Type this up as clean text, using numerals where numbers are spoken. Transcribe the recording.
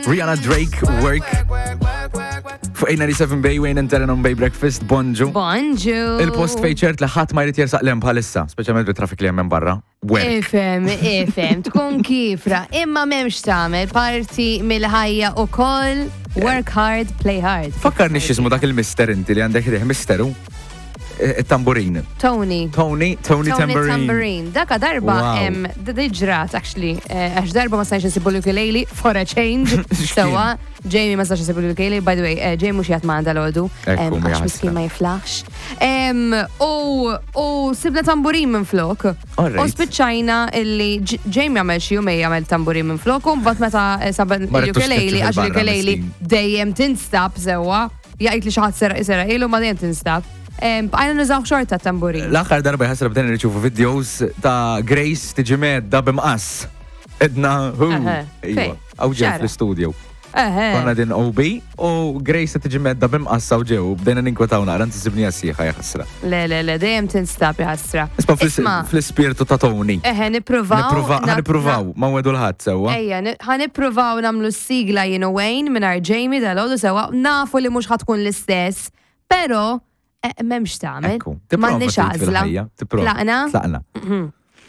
Rihanna Drake, Work. Fuq 897 Bay, Wayne and Teren on Bay Breakfast, bonġu. Bonġu. Il-post fej ċert li ħadd ma jrid jersaq lem bħalissa, speċjalment bit-traffic li hemm barra. Work. Ifem, ifem, tkun kifra, imma memx tagħmel parti mill-ħajja u koll, work hard, play hard. Fakkarni x'ismu dak il-mister inti li għandek riħ misteru. Tamburin. Tony. Tony, Tony, Tony Tambourine. Daka darba hemm ġrat actually, eh, għax darba ma stajx insibu l-ukulele for a change. Sewa, Jamie ma stajx insibu l-ukulele, by the way, eh, Jamie mhux jgħat ma għandha l-għodu. Għax miskin ma jiflaħx. U sibna tamburin minn flok. U spiċċajna illi Jamie għamel xi jumej għamel tamburin minn flok, u mbagħad meta eh, saben l-ukulele, għax l-ukulele dejjem tinstab sewa. Jgħid li xi ħadd seraq seraq ilu ma dejjem tinstab. Bqajna nużaw xorta tamburin. L-aħħar darba jħassra bdejna nirċievu videos ta' Grace tiġi medda b'imqass. Edna, hu. Iva, Għaw ġew fl-istudio. Konna din OB u Grace tiġi medda b'imqass għaw ġew, bdejna ninkwetaw naqra ntisibni għasieħa jħassra. Le, le, le, dejjem tinstab jħassra. Isma fl-ispirtu ta' Tony. Eħe, nippruvaw. Ħa nippruvaw, ma wedu l-ħadd sewwa. Ejja, ħa nippruvaw nagħmlu sigla jien u Wayne minn Jamie dal sewwa, nafu li mhux ħa tkun l-istess, pero eh, m'hemmx tagħmel. M'għandniex għażla. Tlaqna. Tlaqna. Mhm.